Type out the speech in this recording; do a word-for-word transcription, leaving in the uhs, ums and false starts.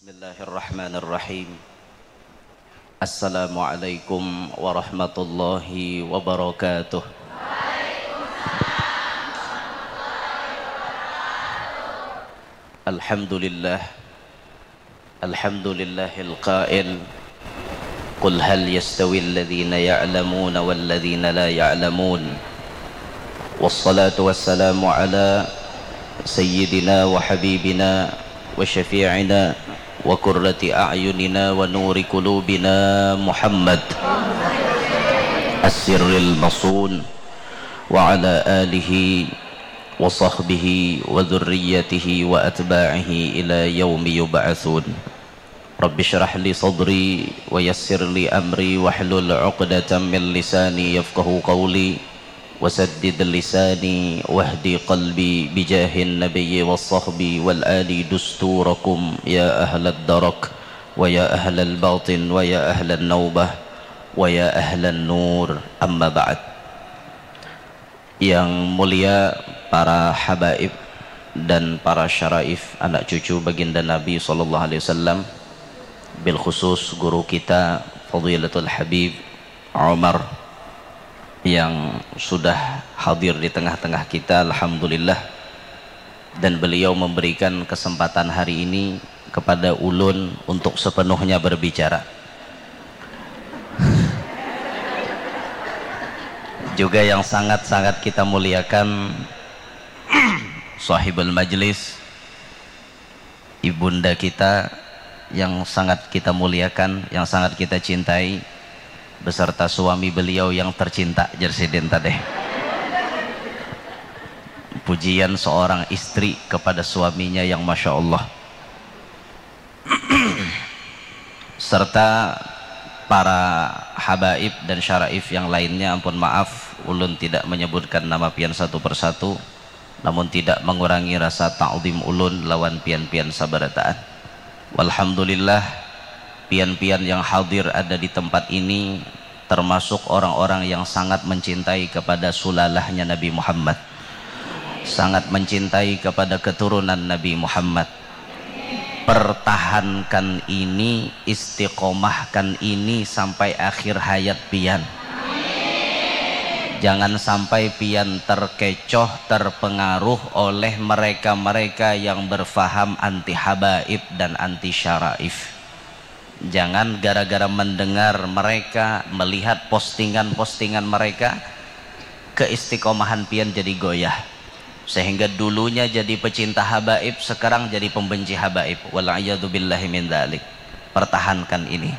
Bismillahirrahmanirrahim. Assalamualaikum warahmatullahi wabarakatuh. Alhamdulillah. Alhamdulillahil qail, qul hal yastawil ladzina ya'lamuna wal ladzina la ya'lamun. Wassalatu wassalamu ala sayyidina wa habibina wa syafi'ina wa qurrati a'yunina wa nuri qulubina Muhammad as-sirril masun wa ala alihi wa sahbihi wa dzurriyyatihi wa atba'ihi ila yaumi yub'atsun. Rabbi shrah li sadri wa yassir li amri wahlul uqdatam min lisani yafqahu qawli wa saddid lisani wahdi qalbi bijahin nabiyyi wa sahbi wal ali dusturakum ya ahlad darak wa ya ahlal batin wa ya ahlan naubah wa ya ahlan nur, amma ba'd. Yang mulia para habaib dan para syaraif, anak cucu baginda Nabi sallallahu alaihi wasallam, bil khusus guru kita Fadilatul Habib Umar yang sudah hadir di tengah-tengah kita, alhamdulillah. Dan beliau memberikan kesempatan hari ini kepada ulun untuk sepenuhnya berbicara. Juga yang sangat-sangat kita muliakan sahibul majlis, ibunda kita yang sangat kita muliakan, yang sangat kita cintai, beserta suami beliau yang tercinta, jar sidin tadeh. Pujian seorang istri kepada suaminya yang masya Allah. Serta para habaib dan syaraif yang lainnya, ampun maaf, ulun tidak menyebutkan nama pian satu persatu, namun tidak mengurangi rasa ta'zim ulun lawan pian-pian sabarataan. Walhamdulillah, pian-pian yang hadir ada di tempat ini termasuk orang-orang yang sangat mencintai kepada sulalahnya Nabi Muhammad, sangat mencintai kepada keturunan Nabi Muhammad. Pertahankan ini, istiqomahkan ini sampai akhir hayat pian. Jangan sampai pian terkecoh, terpengaruh oleh mereka-mereka yang berfaham anti habaib dan anti syaraif. Jangan gara-gara mendengar mereka, melihat postingan-postingan mereka, keistiqomahan pian jadi goyah. Sehingga dulunya jadi pecinta habaib, sekarang jadi pembenci habaib. Wal iyadzu billahi min dzalik. Pertahankan ini.